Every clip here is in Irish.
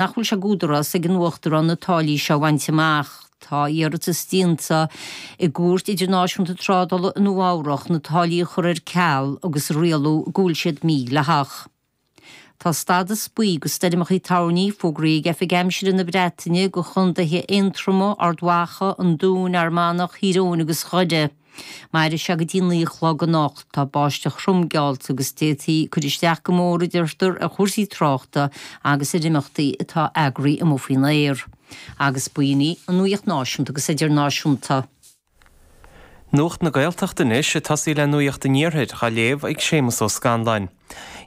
Nach bhfuil sé d'údarás ag an Uachtarán na táillí seo a bhaint amach. Tá iarratas déanta i gCúirt Idirnáisiúnta Trádála i Nua Eabhrach na táillí a chur ar ceal agus a rialú go bhfuil siad mídhleathach. Tá stadas buí do stoirmeacha toirní fógraithe ag Oifig Aimsire na Breataine do chontaetha Aontroma, Ard Mhacha, an Dúin, Fhear Manach, Thír Eoghain agus Dhoire. Mairfidh sé go dtí 9 a chlog anocht. Tá báisteach throm geallta agus d'fhéadfaí cur isteach go mór, a deirtear, ar chúrsaí tráchta agus ar imeachtaí atá eagraithe amuigh faoin aer. Agus b'in í an nuacht náisiúnta agus idirnáisiúnta. Nuacht na Gaeltachta anois, ag tosaí le Nuacht an Iarthair, á léamh ag Séamus Ó Scanláin.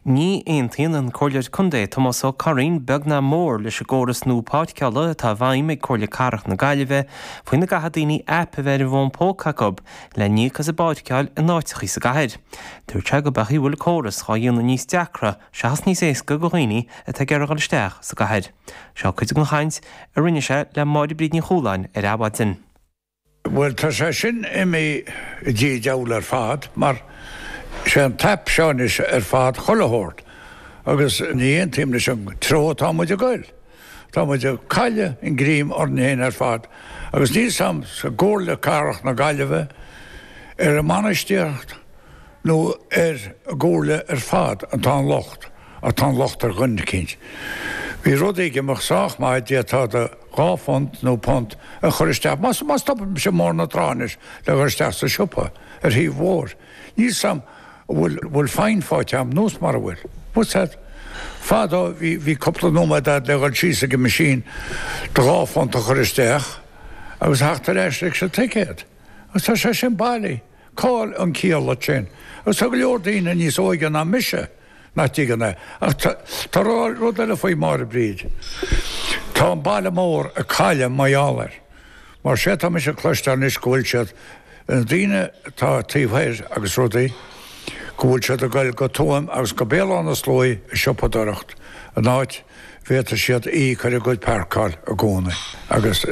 Ní aontaíonn an Comhairleoir Contae Tomás Ó Curraoin beag ná mór leis an gcóras nua páirceála atá i bhfeidhm ag Comhairle Cathrach na Gaillimhe faoina gcaithfidh daoine aip a bheith ar a bhfón póca acu le n-íoc as a bpáirceáil in áiteachaí sa gcathair. Dúirt sé gurb é an chaoi a bhfuil an córas dhá dhéanamh níos deacra seachas níos éasca do dhaoine atá ag iarraidh dhul isteach sa gcathair. Seo cuid den chaint a rinne sé le Máire Bríd Ní Chualáin ar Adhmhaidin. Bhuel, tá sé sin imithe i dtí diabhal ar fad, mar sé an t-aip seo anois ar fad chuile shórt, agus ní aontaím leis an treo atá muid ag goil. Tá muid ag cailleadh an greim orainn féin ar fad, agus níl 's a'm sa gComhairle Cathrach na Gaillimhe, ar an mbainistíocht nó ar an gComhairle ar fad atá an locht, ach tá an locht ar dhuine eicínt. Bhí rudaí ag imeacht sách maith, d'fhéadfá do. £2 nó punt a chur isteach, má stopaimse i mBóthar na Trá anois le dhul isteach sa siopa ar thaobh an bhóthair, níl 's a'm an bhfuil bhfuil fine faighte a'm nós mara bhfuil. What's that? Fadó bhí bhí cúpla nóiméad a'd le dhul síos ag an machine do £2 a chur isteach agus a theacht ar ais leis an ticéad. Agus tá sé sin bailí. Cá'il an ciall leis sin? Agus tá go leor daoine níos óige ná mise nach dtuigeann é. Ach tá rud eile faoi Máire Bríd. Tá an baile mór ag cailleadh mar gheall air. Mar sé tá mise ag cloisteáil anois go bhfuil siad, na daoine atá taobh thoir agus rudaí, go bhfuil siad ag goil go Tuaim agus go Béal Átha na Sluaighe ag siopadóireacht an áit bhféadfaidh siad íoc ar a gcuid páirceáil i gcónaí. Agus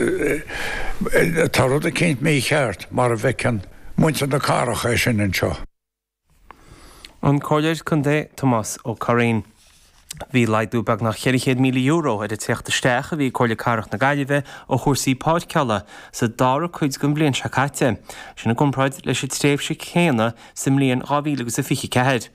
tá rud eicínt mícheart mar a bhfeiceann muintir na cathrach é sin anseo. An Comhairleoir Contae Tomás Ó Curraoin. Bhí laghdú beagnach €400,000 ar an tíocht isteach a bhí ag Comhairle Cathrach na Gaillimhe ó chúrsaí páirceála sa dara cuid den bhliain seo caite, sin i gcomparáid leis an tréimhse chéanna sa mbliain 2024.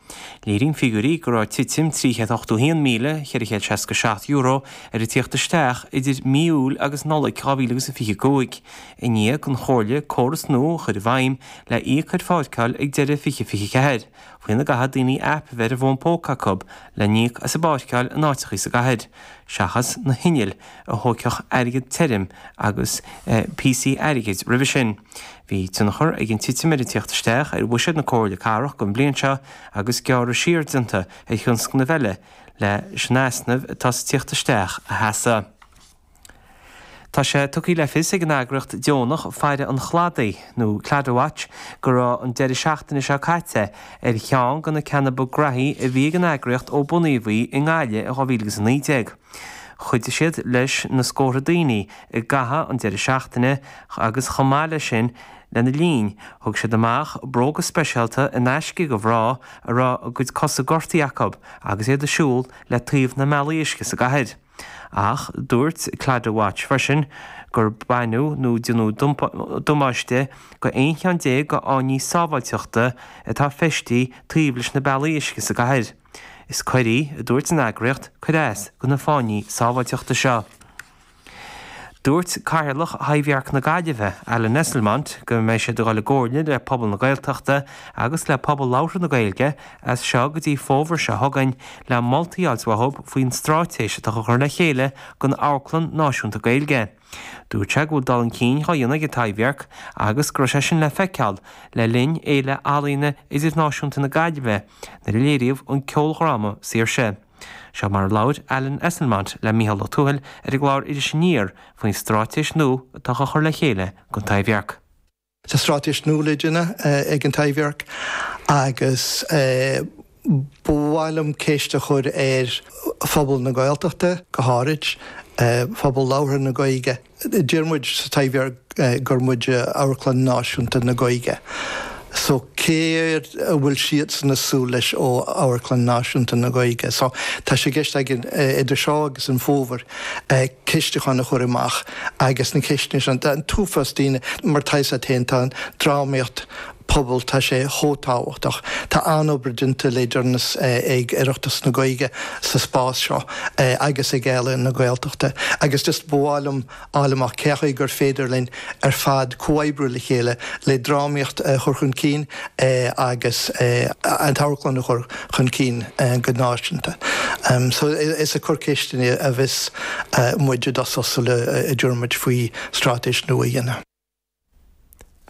Léiríonn figiúirí go raibh titim €381,467 ar an tíocht isteach idir mí Iúil agus Nollaig 2025, i ndiaidh don Chomhairle córas nua a chur i bhfeidhm le íoc ar pháirceáil ag deireadh 2024, faoina gcaithfidh daoine aip a bheith ar a bhfón póca acu le n-íoc as a bpáirceáil in áiteachaí sa gcathair, seachas na hinnill a thóigfeadh airgead tirim agus píosaí airgid roimhe sin. Bhí tionchar ag an titim ar an tíocht isteach ar bhuiséad na Comhairle Cathrach don bhliain seo agus gearradh siar déanta ar thionscnaimh eile leis an easnamh atá sa tíocht isteach a sheasamh. Tá sé tugtha le fios ag an eagraíocht deonach Faire an Chladaigh, nó Claddagh Watch, go raibh an deireadh seachtaine seo caite ar cheann de na ceanna ba graithí a bhí ag an eagraíocht ó bunaíodh í i nGaillimh in 2019. Chuidigh siad leis na scórtha daoine i gcaitheamh an deireadh seachtaine agus chomh maith leis sin lena linn thug siad amach bróga speisialta in aisce do mhná a raibh a gcuid cosa gortaithe acu agus iad ag siúl le taobh na mbealaí uisce sa gcathair. Ach dúirt Claddagh Watch freisin gur baineadh nó déanadh damáiste go 11 cheann de fháinní sábháilteachta atá feistithe taobh leis na bealaí uisce sa gcathair. Is coir í, a dúirt an eagraíocht, cur as do na fáinní sábháilteachta seo. Dúirt Cathaoirleach Thaibhdhearc na Gaillimhe, Alan Esslemont, go mbeidh siad ag dul i gcomhairle le pobal na Gaeltachta agus le pobal labhartha na Gaeilge as seo go dtí fómhar seo chugainn le moltaí a fháilt uathu faoin straitéis atá á chur le chéile don Amharclann Náisiúnta Gaeilge. Dúirt sé go bhfuil dul chun cinn á dhéanamh ag an Taibhdhearc agus go raibh sé sin le feiceáil le linn Fhéile Ealaíona Idirnáisiúnta na Gaillimhe nuair a léiríodh an ceoldráma Saoirse. Seo mar a labhair Alan Esslemont le Mícheál Ó Tuathail ar an gclár Iris Aniar faoin straitéis nua atá á chur le chéile don Taibhdhearc. Tá straitéis nua le déanamh ag an Taibhdhearc agus ba mhaith liom ceist a chur ar phobal na Gaeltachta, go háirid, phobal labhartha na Gaeilge. Deir muid sa Taibhdhearc gur muid Amharclann Náisiúnta na Gaeilge. So céard a bhfuil siadsan ag súil leis ó Amharclann Náisiúnta na Gaeilge? So tá sé i gceist againn idir seo agus an fómhar ceistiúchán a chur amach agus na ceisteanna sin, tá an t-uafás daoine, mar tá 'fhios a't féin, tá an drámaíocht pobail, tá sé chomh tábhachtach. Tá an-obair déanta le deireanas ag Oireachtas na Gaeilge sa spás seo agus ag Ealaín na Gaeltachta agus just ba mhaith liom fháil amach cé chaoi gur féidir linn ar fad comhoibriú le chéile le drámaíocht a chur chun cinn agus an t-amharclann a chur chun cinn go náisiúnta. So is ag cur ceisteanna a bheas muid i dtosach sula dtabharfaidh muid faoi straitéis nua a dhéanamh.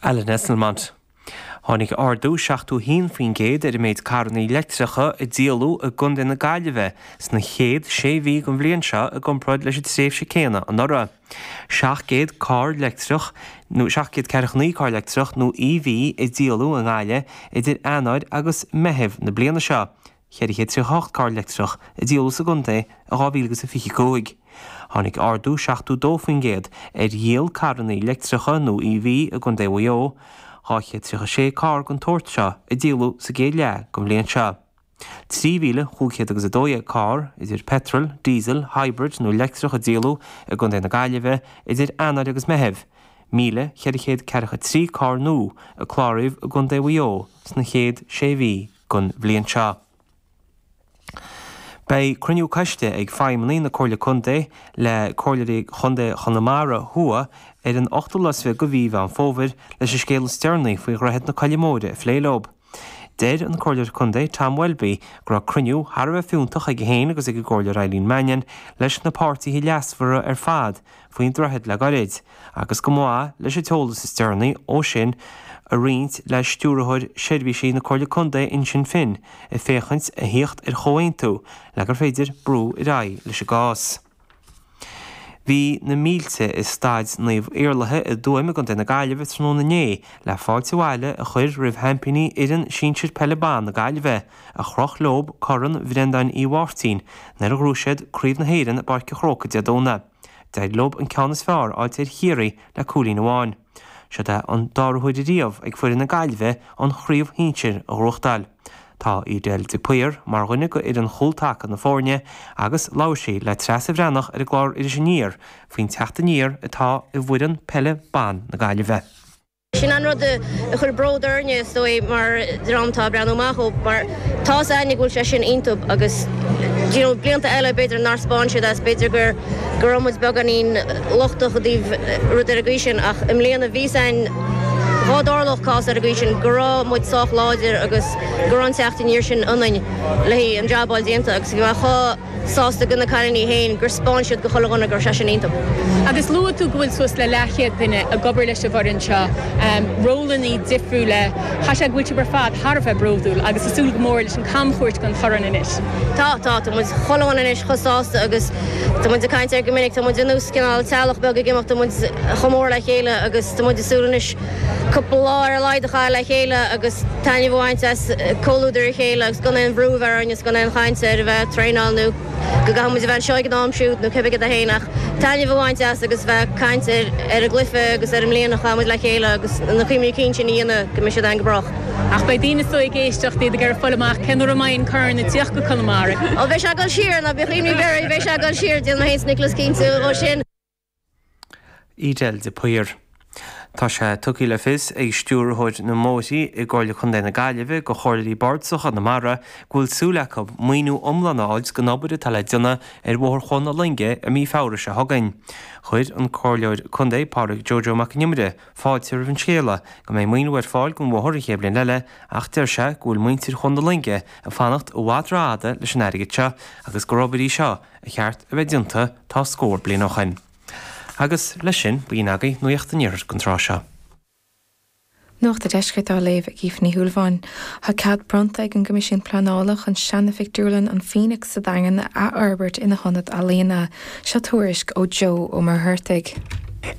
Alan Esslemont. Tháinig ardú 71% ar an méid carranna leictreacha a díoladh i gContae na Gaillimhe sna chéad sé mhí den bhliain seo i gcomparáid leis an tréimhse céanna anuraidh. 700 carr leictreach nó 749 carr leictreach nó EV a díoladh i nGaillimh idir Eanáir agus Meitheamh na bliana seo. 438 carr leictreach a díoladh sa gcontae i 2025. Tháinig ardú 72% ar dhíol carranna leictreacha nó EV i gContae Mhaigh Eo, 236 carr den tsórt seo a díoladh sa gcéad leath den bhliain seo. 3,512 carr, idir peitreal, diesel, hybrid nó leictreach a díoladh i gContae na Gaillimhe idir Eanáir agus Meitheamh, 1,443 carr nua a cláraíodh i gContae Mhaigh Eo sna chéad sé mhí den bhliain seo. Beidh cruinniú coiste ag feidhmeannaigh na Comhairle Contae le Comhairleoirí Chontae Chonamara Thuaidh ar an ochtú lá is fiche de mhí Mheán Fómhair leis an scéal is deireanaí faoi Dhroichead na Coille Móire a phlé leo. Deir an Comhairleoir Contae Tom Welby go raibh cruinniú thar a bheith fiúntach aige féin agus ag an gComhairleoir Eileen Mannion leis na páirtithe leasmhara ar fad faoin droichead le gairid, agus go mba mhaith leis an t-eolas is deireanaí ó sin a roinnt le Stiúrthóir Seirbhísí na Comhairle Contae Uinseann Finn ag féachaint a thíocht ar chomhaontú le gur féidir brú ar aghaidh leis an gcás. Bhí na mílte i Staid Naomh Iarlaithe i dTuaim i gContae na Gaillimhe tráthnóna inné le fáilte abhaile a chur roimh sheaimpíní fhoireann sinsir peile ban na Gaillimhe, a chroch leo Corn Bhreandáin Uí Mháirtín nuair a ghnóthaigh siad Craobh na hÉireann i bPáirc an Chrócaigh Dé Domhnaigh. D'éirigh leo an ceann is fearr a fháilt ar Chiarraí le cúilín amháin. Seod é an dara huair ariamh ag foireann na Gaillimhe an chraobh shinsir a ghnóthachtáil. Tá Edel de Paor mar dhuine de fhoireann chúl taca na foirne agus labhair sí le Treasa Bhreathnach ar an gclár Iris Aniar faoin teacht aniar atá i bhfoireann peile ban na Gaillimhe. Sin an rud a chuir bród orainne, is dóigh, mar dhream atá ag breathnú amach ó, mar tá's a'inne go bhfuil sé sin iontu agus do you know blianta eile b'fhéidir nár 'spáin siad as, b'fhéidir gur go raibh muid beagáinín lochtach i dtaobh rud ar an gcaoi sin ach i mbliana bhí's a'inn dhá dtarlódh cás ar an gcaoi sin go raibh muid sách láidir agus go raibh an teacht aniar sin ionainn le haghaidh an jab a fháil déanta agus bhí mé chomh sásta do na cailíní féin gur 'spáin siad go chuile dhuine go raibh sé sin iontu. Agus luaigh tú go bhfuil suas le leathchéad duine ag obair leis an bhfoireann seo, rólannaí difriúla. Caithfidh sé go bhfuil sibh ar fad thar a bheith bródúil agus ag súil go mór leis an camchuairt den chorn anois. Tá, tá. Tá muid chuile dhuine anois chomh sásta agus tá muid ag caint air go minic, tá muid ar nós cineál teaghlach beag ag imeacht, tá muid chomh mór le chéile agus tá muid ag súil anois cúpla lá ar a laghad a chaitheamh le chéile agus taitneamh a bhaint as comhluadar a chéile agus gan aon bhrú a bheith orainn is gan aon chaint ar a bheith ag traenáil nó go gcaithfidh muid a bheith anseo ag an am siúd nó cibé cad é féin ach taitneamh a bhaint as agus bheith ag caint ar ar an gcluiche agus ar an mbliain a chaith muid le chéile agus na cuimhní cinn sin a dhéanamh go mbeidh siad againn go brách. Ach beidh daoine is dóigh ag éisteacht, iad ag iarraidh fáil amach cén uair a mbeidh an corn ag tíocht go Conamara. Ó beidh sé ag dul siar, ná bíodh imní oraibh, beidh sé ag dul siar, déanfaidh mé féin is Nicholas cinnte dhó sin. Edel de Paor. Tá sé tugtha le fios ag Stiúrthóir na mBóithrí i gComhairle Contae na Gaillimhe do Chomhairleoirí Bardasacha Chonamara go bhfuil súil acu maoiniú iomlán a fháilt don obair atá le déanamh ar Bhóthar Chuan na Loinge i mí Feabhra seo chugainn. Chuir an Comhairleoir Contae Pádraig Joe Joe Mac Con Iomaire fáilte roimh an scéala go mbeidh maoiniú ar fáil don bhóthar an chéad bhliain eile ach deir sé go bhfuil muintir Chuan na Loinge ag fanacht i bhfad rófhada leis an airgead seo agus gur obair í seo ba cheart a bheith déanta tá scór bliain ó shoin. Agus leis sin, b'in agaibh Nuacht an Iarthair don tráth seo. Nuacht an Deiscirt á léamh ag Aoife Ní Shúilleabháin. Tá cead bronnta ag an gCoimisiún Pleanála chun seana-phictiúrlann an Phoenix sa Daingean a athfhorbairt ina hionad ealaíona. Seo tuairisc ó Joe Ó Muircheartaigh.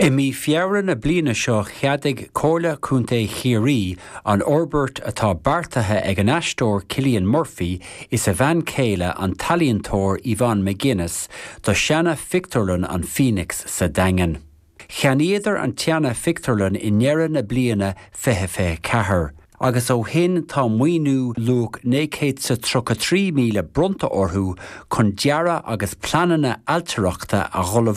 I mí Feabhra na bliana seo cheadaigh Comhairle Contae Chiarraí an fhorbairt atá beartaithe ag an aisteoir Cillian Murphy is a bhean chéile an t-ealaíontóir Yvonne McGuinness do sheana-phictiúrlann an Phoenix sa Daingean. Cheannaíodar an tseana-phictiúrlann i ndeireadh na bliana 2024. Agus ó shin tá maoiniú luach 933,000 bronnta orthu chun dearadh agus pleananna ailtireachta a ullmhú.